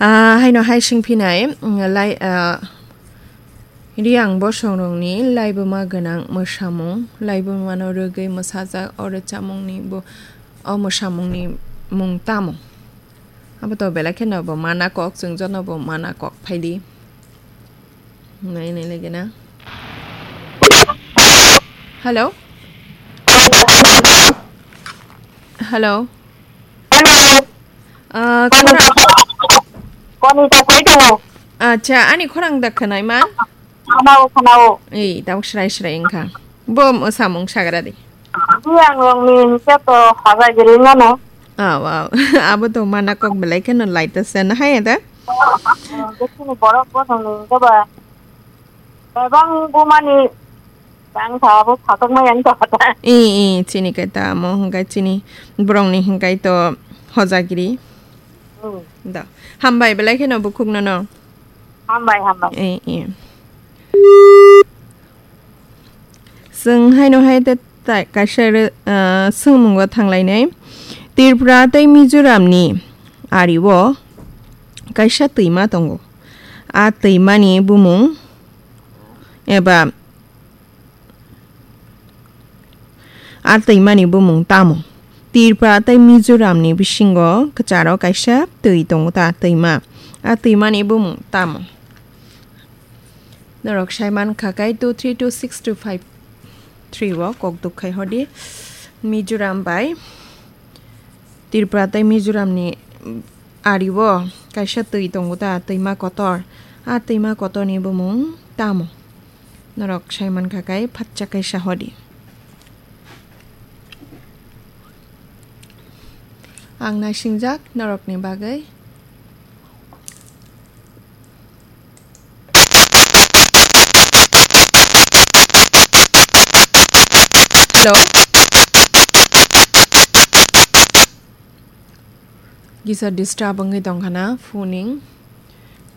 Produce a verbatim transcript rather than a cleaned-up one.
Ah, haino hai singphinai, mm, lai, ah, Riang bosongrokni laibuma gwnang mwsamung, laibumano rwgwi mwsajak o rwchapmungni bo, o mwsamungni mung tamo? Abo to belai kheno bo mana kok, chwng jono bo mana kok phaidi. Nai nai lagi na. Hello? Hello? Hello. Ah, Koni khorang- Koni ta sai tongo? Acha, ani khorang da khwnai man? Khanao, khanao. Ei, tabuk srai srai wngkha. Bo mwsamung sagra di. Riang rokni hwnkhe to hajagiri mano. Ah, wow. Abo to mana kok belai kheno laita se na hai da? Bwswkni borok bosongni hwnkhe ba bebang bumani tang tha abo satok ma yang tha ta. I, i, chini kai ta amo hwnkhe chini borokni hwnkhe to hojagiri. Hmm. Da. Hambai belai kheno bukhukno no. Hambai, hambai. I, i. Chwng haino hai te tai kaisa re, ah, swngmungo thanglainai. Tripura tei Mizoramni ario kaisa twima tongo. A twimani bumung eba a twimani bumung tamo? Tripura tei Mizoramni bisingo kwcharo kaisa twi tongo ta twima. A twimani bumung tamo? Norok sai man kha kai two three two six two five three o kok duk khai hodi. Mizoram bai Tripura tei Mizoramni ario kaisa twi tongo ta, twima kotor. A twima kotorni bumung tamo? Norok sai man kha kai phatcha kaisa hodi. Ang naisingjak norokni bagwi. Hello. Kisa disturb wngwi tongkha na phoning.